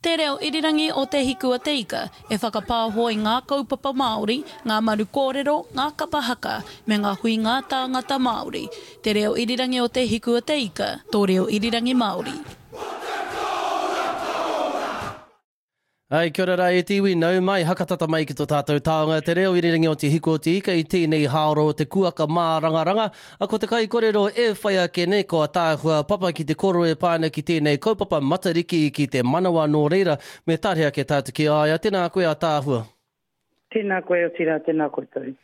Te reo irirangi o Te Hiku a Te Ika e whakapāho i ngā kaupapa Māori, ngā maru kōrero, ngā kapa haka, me ngā huinga tāngata Māori. Te reo irirangi o Te Hiku a Te Ika, tō reo irirangi Māori. Ai, kia ora rā e te iwi, nau mai, hakatata mai ki tō tātou taonga, te reo irirangi o Te Hiku o Te Ika i tēnei hāora o te kuaka mārangaranga. A ko te kaikorero e whai ake nei ko Ataahua Papa ki te koro e pā ana ki tēnei kaupapa Matariki ki te manawa nō reira me tare ake tātou ki a ia. Tēnā koe Ataahua. Tēnā koe otirā tēnā koutou.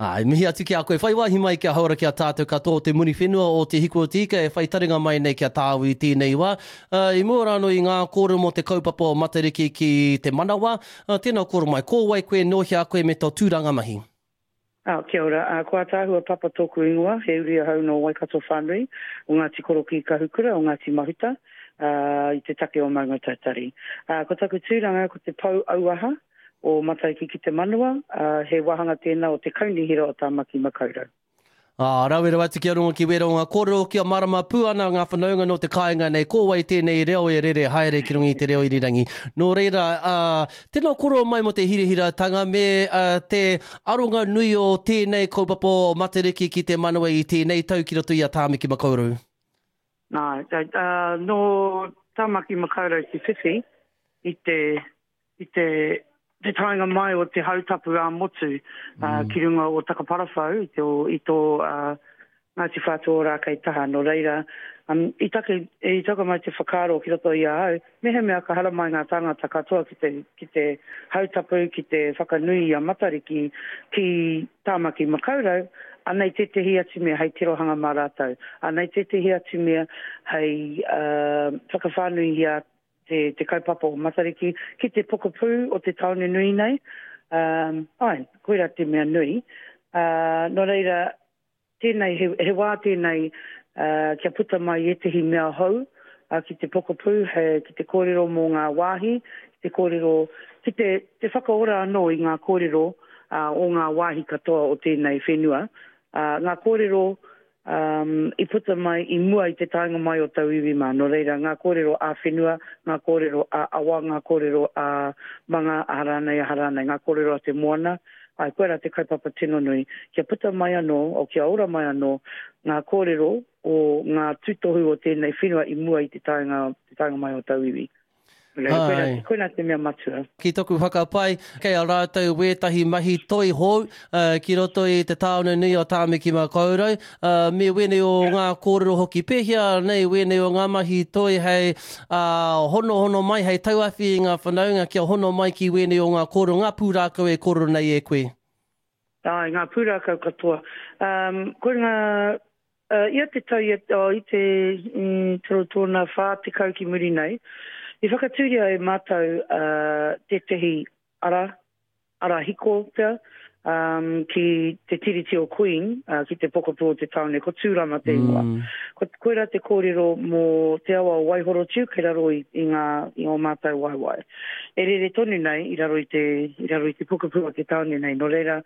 Ā, e mihi atu ki a koe. Whai wāhi mai kia hauora ki a tātou katoa o te Muriwhenua o Te Hiku o Te Ika e whai taringa mai nei ki a tāu i tēnei wā. Ā, i mua rānō i ngā kōrero mō te kaupapa o Matariki ki te manawa, ā, tēnā kōrero mai, ko wai koe, nō hea koe me tō tūranga mahi? Ā, kia ora. Ā, ko Ataahua Papa tōku ingoa, he uri ahau nō Waikato whānui, o Ngāti Korokī Kahukura, o Ngāti Mahuta, ā, i te take o Maungatautari. Ā, ko taku tūranga ko te pou auaha o Mataiki ki te Manawa, ā, he wāhanga tēnā o te Kaunihera o Tāmaki Makaurau. Ā, rawe rawa atu ki a rongo ki wērā o ngā kōrero kia mārama pū ana ngā whanaunga nō te kāinga nei ko wai tēnei reo e rere haere ki runga i te reo irirangi. Nō reira, ā, tēnā kōrero mai mō te hirahiratanga me te aronga nui o tēnei kaupapa o Matariki ki te manawa i tēnei tau ki roto i a Tāmaki Makaurau. Nā, ā, nō Tāmaki Makaurau te whiwhi i te i te te taenga mai o te hautapu ā-motu mm. ki runga o Takaparawhau i, te, i tō uh, Ngāti Whātua Ōrākei taha. Nō reira, um, i, take, i taka mai te whakaaro ki roto i a au, mehemea ka haramai ngā tāngata katoa ki te, ki te hautapu, ki te whakanui i a Matariki, ki Tāmaki Makaurau, anei tētehi atu mea hei tirohanga mā rātou. Anei tētehi atu mea hei uh, whakawhānui i a te, te kaupapa o Matariki ki te pokapū o te tāone nui nei. Um, ai, koirā te mea nui. Uh, nō reira, tēnei, he, he wā tēnei uh, kia puta mai ētehi mea hou uh, ki te pokapū, he, ki te kōrero mō ngā wāhi, ki te kōrero, ki te, te whakaora anō i ngā kōrero uh, o ngā wāhi katoa o tēnei whenua. Uh, ngā kōrero um, i puta mai i mua i te taenga mai o tauiwi mā. Nō reira, ngā kōrero ā-whenua, ngā kōrero ā-awa, ngā kōrero ā-manga, aha rānei, aha rānei, ngā kōrero a te moana, āe, koirā te kaupapa tino nui, kia puta mai anō, o kia ora mai anō ngā kōrero o ngā tūtohu o tēnei whenua i mua i te taenga, te taenga mai o tauiwi. Koina, koina te mea matua. Ki toku whakapae, kei a rātou wētahi mahi toi hou ki roto i te tāone nui o Tāmaki Makaurau, me wēnei o ngā kōrero hoki. Pēhea nei wēnei o ngā mahi toi hei honohono mai, hei tauawhi i ngā whanaunga kia hono mai ki wēnei o ngā kōrero, ngā pūrākau e kōrero nei e koe? Āe, ngā pūrākau katoa. Um, ko ngā Ia te tau, ia, oh, i te mm, toro tōna 40 ki muri nei, i whakatūria e mātou uh, tētehi ara, ara hiko pea, um, ki te Tiriti o Queen, uh, ki te pokapū o te tāone, ko Tūrama te ingoa. Mm. Ko, koirā te kōrero mō te awa o Waihorotiu kei raro i, i, ngā, i ō mātou waewae. E rere tonu nei i raro i te, i raro i te pokapū o te tāone nei. Nō reira,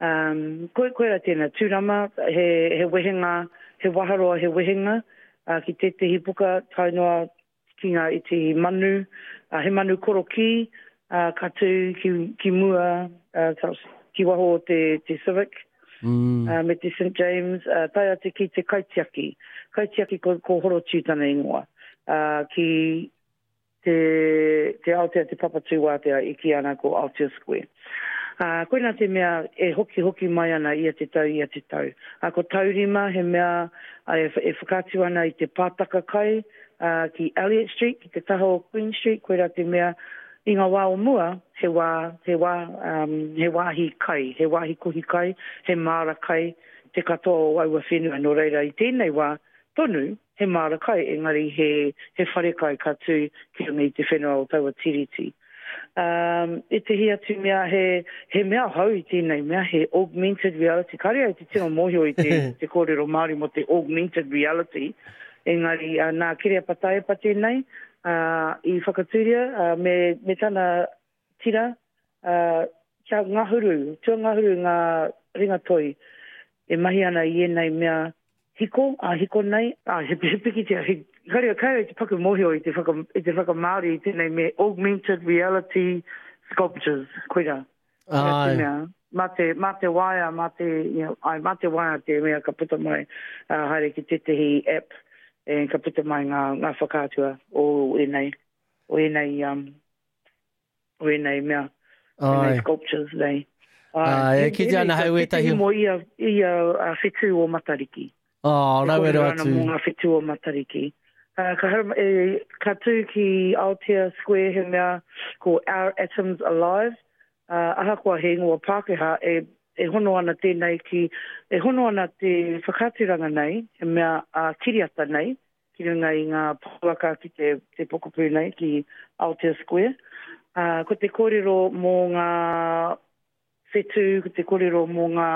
Um, koe, koera tēnā, tūrama, he, he wehenga, he waharoa, he wehenga, uh, ki tētehi puka tae noa ki ngā iti manu, uh, he manu korokī, uh, ka tū ki, ki mua, uh, ki waho o te, te Civic, mm. uh, me te St. James, uh, tae atu ki te kaitiaki. Kaitiaki ko, ko Horotiu tana ingoa. Uh, ki te, te Aotea, te Papatūātea i kī ana ko Aotea Square. Ā, koinā te mea e hokihoki mai ana ia te tau, ia te tau. Ā, ko Taurima he mea e, e whakaatu ana i te pātaka kai ā, ki Elliot Street, ki te taha o Queen Street, koirā te mea i ngā wā o mua, he wā, he wā, um, he wāhi kai, he wāhi kohi kai, he māra kai te katoa o aua whenua. Nō reira, i tēnei wā tonu, he māra kai, engari he, he wharekai ka tū ki runga i te whenua o taua tiriti. Um, ētehi atu mea, he, he mea hou i tēnei mea, he augmented reality. Kāre au te tino mōhio i te, te kōrero Māori mō te augmented reality, engari uh, nā Kereapa Taepa tēnei uh, i whakatūria uh, me, me tana tira, uh, kia ngahuru, tuangahuru ngā ringatoi e mahi ana i ēnei mea hiko, ā-hiko nei, ā, he, he pikitia, he kāre, kāre te paku mōhio i te whaka, i te whakamāori i tēnei me augmented reality sculptures, koira. Koira te mea. Mā te, mā te waea, mā te, you know, ai, mā te waea te mea ka puta mai, uh, haere ki tētehi app, e, ka puta mai ngā, ngā whakaatua o ēnei, o ēnei, um, o ēnei mea, ēnei sculptures nei. Ai, e kite ana hei wētahi. Mō ia, ia uh, whetū o Matariki. Oh, rawe rawa atu. Mō ngā whetū o Matariki. Uh, ka, haram, e, ka tū ki Aotea Square he mea ko Our Atoms Alive. Uh, ahakoa he ingoa Pākehā, e, e hono ana tēnei ki, e hono ana te whakaaturanga nei, he mea uh, kiriata nei, ki runga i ngā pouaka ki te, te pokapū nei, ki Aotea Square. Uh, ko te kōrero mō ngā whetū, ko te kōrero mō ngā,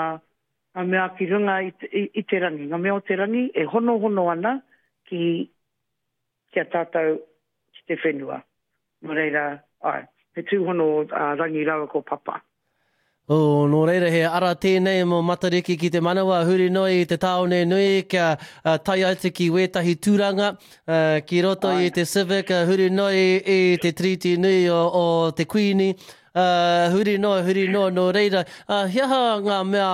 ngā mea ki runga i, i, i te rangi, ngā mea o te rangi e honohono ana ki, ki a tātou ki te whenua. Nō reira, āe, he tūhono a Rangi rāua ko Papa. Oh, nō reira he ara tēnei mō Matariki ki te manawa huri noa i te tāone nui kia tae atu ki wētahi tūranga ki roto i te Civic, huri noa i te Tiriti nui o, o te Kuini, huri noa, huri noa, nō reira, he aha ngā mea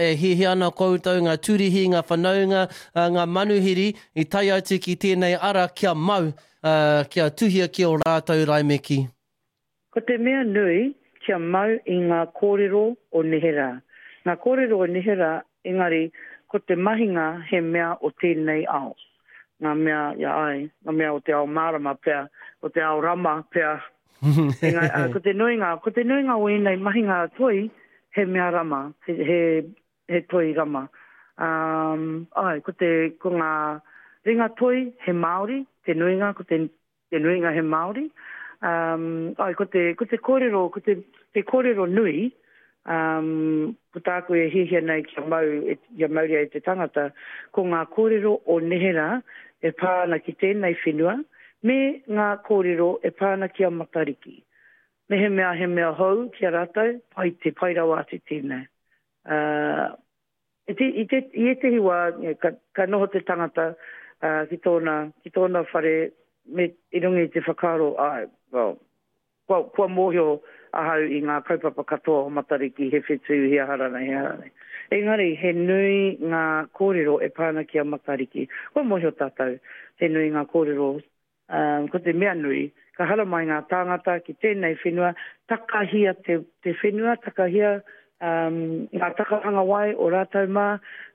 e hiahia ana koutou, ngā turihi, ngā whanaunga, ngā manuhiri i tae atu ki tēnei ara kia mau, kia tuhia ki ō rātou raimeki? Ko te mea nui kia mau i ngā kōrero o neherā. Ngā kōrero o neherā, engari ko te mahinga he mea o tēnei ao. Ngā mea, ia ai, ngā mea o te ao mārama pea, o te ao rama pea. Engari, ā, ko te nuinga, ko te nuinga o ēnei mahinga toi he mea rama, he, he, he toi rama. Um, ai, ko te, ko ngā ringa toi he Māori, te nuinga, ko te te nuinga he Māori. Um, ai, ko te, ko te kōrero, ko te, te kōrero nui, um, ko tāku e hiahia nei kia mau, e, kia mauria e te tangata, ko ngā kōrero o neherā e pā ana ki tēnei whenua, me ngā kōrero e pā ana ki a Matariki. Mehemea he mea hou ki a rātou, pai te pai rawa atu tēnei. Uh, I te, i te, i ētehi wā, ka, ka noho te tangata uh, ki tōna, ki tōna whare me, i runga i te whakaaro, ai, well, kua, kua mōhio ahau i ngā kaupapa katoa o Matariki, he whetū, he aha rānei, he aha rānei. Engari, he nui ngā kōrero e pā ana ki a Matariki. Kua mōhio tātou, he nui ngā kōrero Ā, ko te mea nui, ka haramai ngā tāngata ki tēnei whenua, takahia te, te whenua, takahia um, ngā takahanga wai o rātou mā,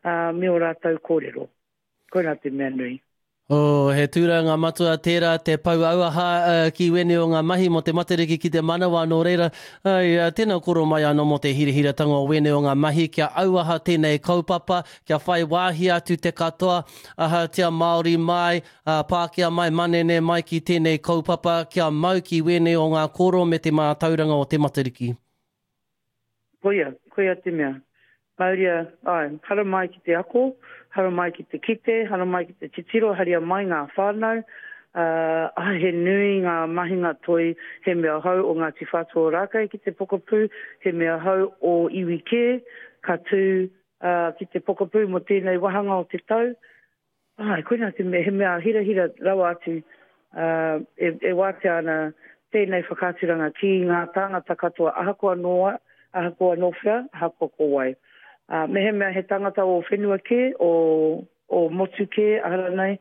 ā, me ō rātou kōrero. Koirā te mea nui. Oh, he tūranga matua tērā te pou auaha uh, ki wēnei o ngā mahi mō te Matariki ki te manawa, nō reira, ai, uh, tēnā koro mai anō mō te hirahiratanga o wēnei o ngā mahi kia auaha tēnei kaupapa, kia whai wāhi atu te katoa, ahatia Māori mai, Ā, pākehā mai, manene mai ki tēnei kaupapa, kia mau ki wēnei o ngā kōrero me te mātauranga o te Matariki. Koia, koia te mea. Mauria, āe, haramai ki te ako, haramai ki te kite, haramai ki te titiro, haria mai ngā whānau, ā, āe, he nui ngā mahinga toi, he mea hou o Ngāti Whātua Ōrākei ki te pokapū, he mea hou o iwi kē, ka tū, ā, ki te pokapū mō tēnei wāhanga o te tau, Āe, koinā te mea, he mea hirahira rawa atu, ā, e, e wātea ana tēnei whakaaturanga ki ngā tāngata katoa, ahakoa nō, ahakoa nō whea, ahakoa ko wai. Ā, mehemea he tangata o whenua kē, o, o motu kē, aha rānei,